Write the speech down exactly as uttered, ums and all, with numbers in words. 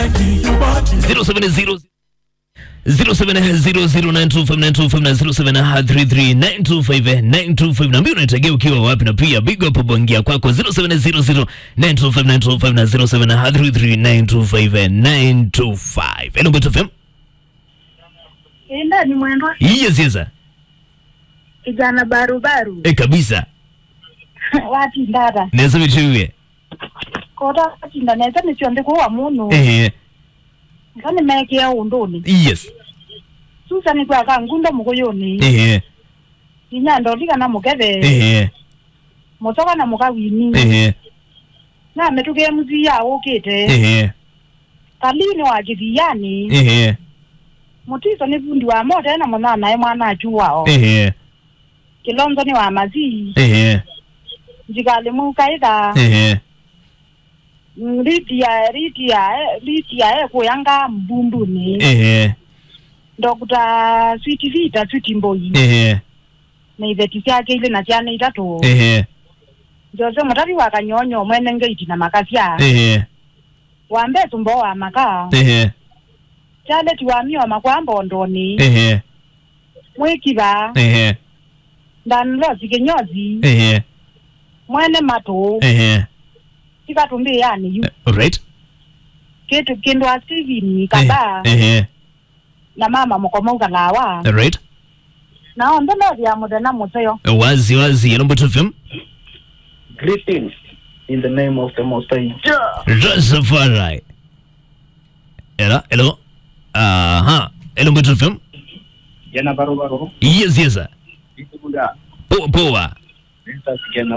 zero seven zero zero seven zero zero nine two five nine two five na zero seven three three nine two five nine two five. Naambia unategea ukiwa wapi, na pia big up bongia kwako, zero seven zero zero nine two five nine two five na zero seven three three nine two five nine two five. Hello, Mbeto F M. Ĩndani mwendwa. Yes, yes, sir. Kijana barubaru. Eh, kabisa. Watinda ata? Nesa mitiwie. Kota watinda nesa nĩ syonthe kwa mũno. Eh. Nza nĩmeekĩa ũndũnĩ. Yes. Susa nĩ kwaka ngunda mũkũyũnĩ. Eh. Inya ndoli kana mũkethe. Eh. Mũtoka na mũkawini. Eh. Na mĩtũkĩ M C ya ũkĩte. Eh. Kalini wa kĩthianĩ. Ehe. Mũtiso nĩ vundi wa mote na mũnanae mwana achu wao. Ehe. Kĩlonzo nĩ wa mazi. Ehe. Njikalĩ mũkaitha. Ehe. Mm, Lydia, Lydia, eh, Lydia ekũyanga mbundunĩ. Ehe. Doctor Sweet Vita, Sweet Mboi. Ehe. Na iveti syake ilĩ na syana itatũ. Ehe. Jose Mũtavi wa Kanyonyo mwene ngeiti na makasya. Ehe. Wa mbee sumbo wa maka. Ehe. Charlotte wa mio makwa mbondoni. Ehe. Mwĩkiva. Ehe. Danlos Kinyozi. Ehe. Mwene matũ. Ehe. Tikatumbĩani yu. Eh, right. Kĩtu kĩndũ a Steven Kaba. Ehe. Na mama mũkomo ũkalawa. Right. Na onthe methĩa mũthenya mũseo. Wazi wazi, hello Mbeto F M. Greetings in the name of the Most High Jah. Rastafari. Hello, hello. Aha. Hello Mbeto F M. Jana baro baro. Yes, yes, sir. Ikuda. Poa, poa. Nisa sikena